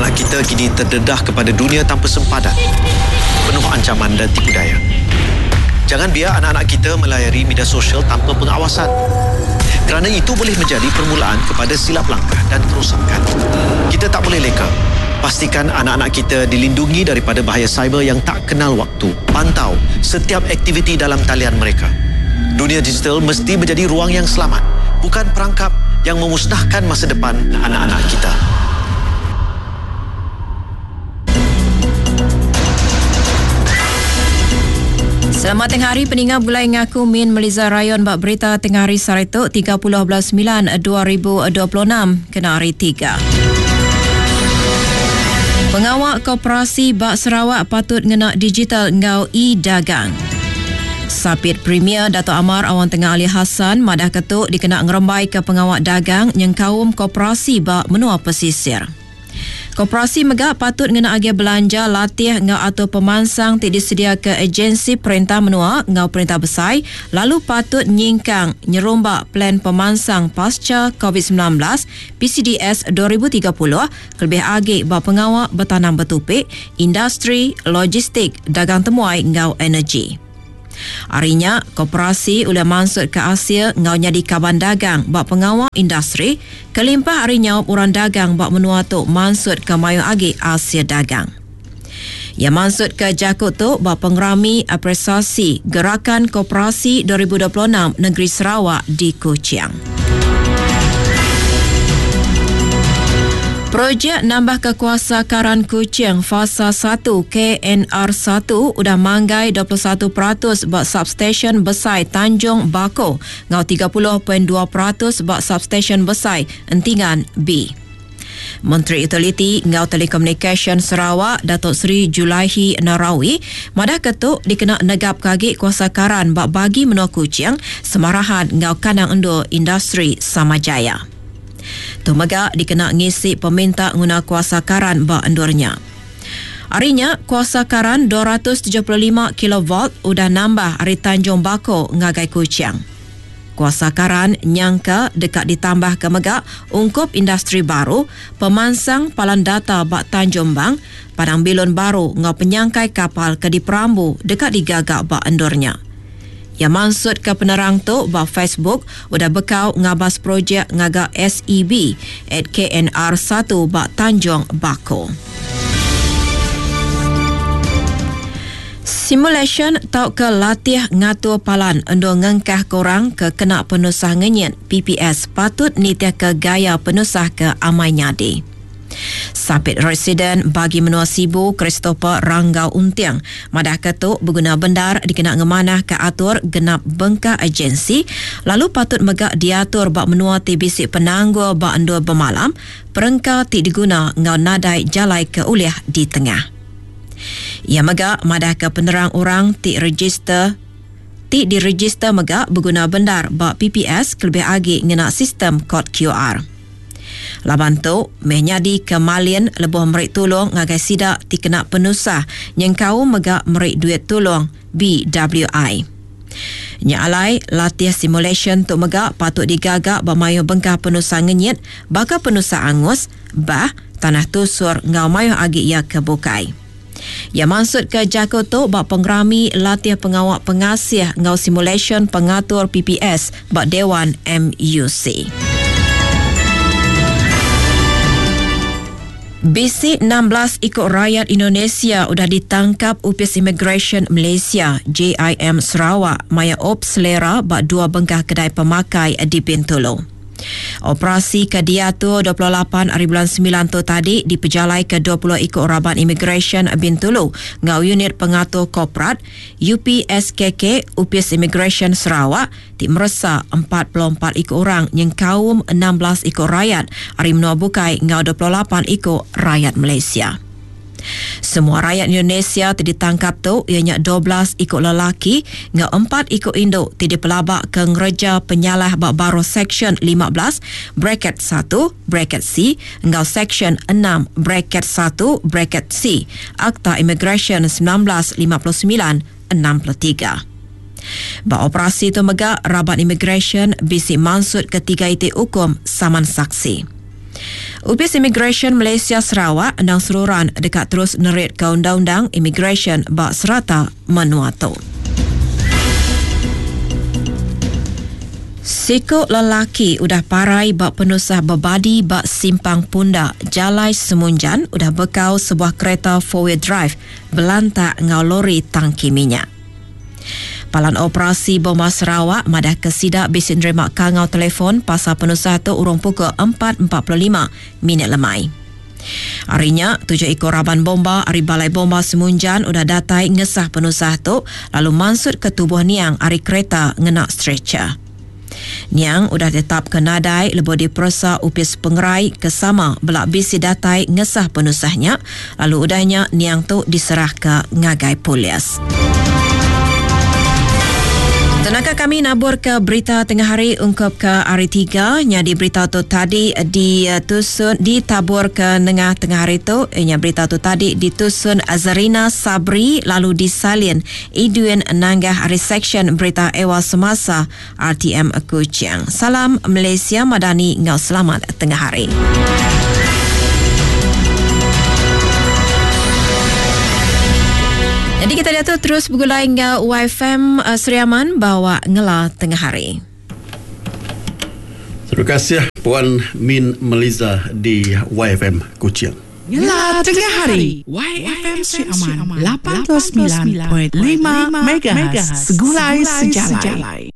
Anak-anak kita kini terdedah kepada dunia tanpa sempadan, penuh ancaman dan tipu daya. Jangan biar anak-anak kita melayari media sosial tanpa pengawasan. Kerana itu boleh menjadi permulaan kepada silap langkah dan kerosakan. Kita tak boleh leka. Pastikan anak-anak kita dilindungi daripada bahaya cyber yang tak kenal waktu. Pantau setiap aktiviti dalam talian mereka. Dunia digital mesti menjadi ruang yang selamat, bukan perangkap yang memusnahkan masa depan anak-anak kita. Selamat tengah hari peninga bulai ngaku Min Meliza Rayon bak berita tengah hari sehari tu 30 bulan 9 2026 kena hari 3. Pengawal Koperasi Bak Sarawak patut ngena digital enggau e-dagang. Sapit Premier Dato Amar Awang Tengah Ali Hassan madah ketu dikena ngerembai ke pengawal dagang nyengkaum koperasi bak menua pesisir. Koperasi mega patut ngena agih belanja latih enggau atur pemansang ti disediaka agensi perintah menua enggau perintah besai lalu patut nyingkang nyerumba Plan Pemansang Pasca Covid-19, PCDS 2030, kelebih agi ba pengawa betanam betupi, industri, logistik, dagang temuai enggau energi. Ari nya, koperasi ulih mansutka asil enggau nyadi kaban dagang ba pengawa industri kelimpah ari nyaup orang dagang ba menua tu mansutka mayuh agi asil dagang. Iya mansutka jaku tu ba Pengerami Apresiasi Gerakan Koperasi 2026 Negeri Sarawak di Kuching. Projek nambahka kuasa karan Kuching Fasa 1 KNR 1 udah manggai 21% ba substesyen besai Tanjung Bako enggau 30.2% ba substesyen besai Entingan B. Menteri Utiliti enggau Telekomunikasyen Sarawak Datuk Seri Julaihi Narawi madahka tu dikena negapka agi kuasa karan ba bagi menua Kuching, Semarahan enggau kandang endur industri Samajaya. Tu mega dikena ngisi peminta nguna kuasa karan ba endur nya. Ari nya, kuasa karan 275 kilovolt udah nambah ari Tanjung Bako ngagai Kuching. Kuasa karan nyangka deka ditambahka mega ungkup industri baru, pemansang palan data ba Tanjung Bang, padang bilun baru enggau penyangkai kapal ke diperambu deka digaga ba endur nya. Iya mansutka penerang tu ba Facebook udah bekau ngabas projek ngaga SEB at KNR 1 ba Tanjung Bako. Simulasyen tauka latih ngatur palan endur ngengkahka orang ke kena penusah ngenyit, PPS, patut nitihka gaya penusah ke amai nyadi. Sapit Residen Bagi Menua Sibu Christopher Ranggau Unting madahka tu beguna bendar dikena ngemanahka atur genap bengkah agensi lalu patut mega diatur ba menua ti bisi penanggul ba endur bemalam, perengka ti diguna enggau nadai jalai ke ulih ditengah. Iya mega madahka penerang orang ti rejister ti direjister mega beguna bendar ba PPS kelebih agi ngena sistem kod QR. Laban tu meh nyadika malin lebuh meri tulung ngagai sida ti kena penusah nyengkaum mega meri duit tulung BWI. Nya alai, latih simulasyen tu mega patut digaga ba mayuh bengkah penusah ngenyit baka penusah angus, bah, tanah tusur enggau mayuh agi iya ke bukai. Iya mansutka jaku tu ba Pengerami Latih Pengawa Pengasih enggau Simulasyen Pengatur PPS ba Dewan MUC. Bisi 16 iku rayat Indonesia udah ditangkap Opis Imigresen Malaysia, JIM Sarawak, maya Op Selera ba dua bengkah kedai pemakai di Bintulu. Operasi ke diatur 28 ari bulan 9 tu tadi dipejalaika 20 iku raban imigresen Bintulu enggau Unit Pengatur Korporat, UPSKK, Opis Imigresen Sarawak ti meresa 44 iku orang nyengkaum 16 iku rayat ari menua bukai enggau 28 iku rayat Malaysia. Semua rayat Indonesia ti ditangkap tu iya nya 12 iku lelaki enggau empat iku indu ti dipelabaka ngereja penyalah ba baruh Seksyen 15 bracket 1 bracket C enggau Seksyen 6 bracket 1 bracket C Akta Imigresen 1959 63. Ba operasi tu mega raban imigresen bisi mansutka tiga iti ukum saman saksi. Opis Imigresen Malaysia Sarawak endang seruran deka terus neritka undang-undang imigresen ba serata menua tu. Siku lelaki udah parai ba penusah bebadi ba Simpang Punda, Jalai Semunjan udah bekau sebuah kereta four-wheel drive belantak enggau lori tangki minyak. Palan Operasi Bomba Sarawak madahka sida bisi nerima kangau telefon pasal penusah tu urung pukul 4.45 minit lemai. Ari nya, tujuh iku raban bomba ari Balai Bomba Semunjan udah datai ngesah penusah tu lalu mansutka tubuh niang ari kereta ngena stretcher. Niang udah ditetapka nadai lebuh diperesa Opis Pengerai ke sama bela bisi datai ngesah penusah nya lalu udah nya niang tu diserahka ngagai polis. Tenaka kami naburka berita tengah hari ungkup ke hari tiga nyadi berita tu tadi ditusun ditaburka nengah tengah hari tu nya berita tu tadi ditusun Azarina Sabri lalu disalin Edwin Nanggah ari Seksyen Berita Ewa Semasa RTM Kuching. Salam Malaysia Madani enggau selamat tengah hari. Jadi kita diatu terus begulai enggau YFM eh, Sri Aman bawa ngela tengah hari. Terima kasih Puan Min Meliza di YFM Kuching. Ngela tengah hari. YFM Sri Aman 89.5 MHz Segulai Sejalai.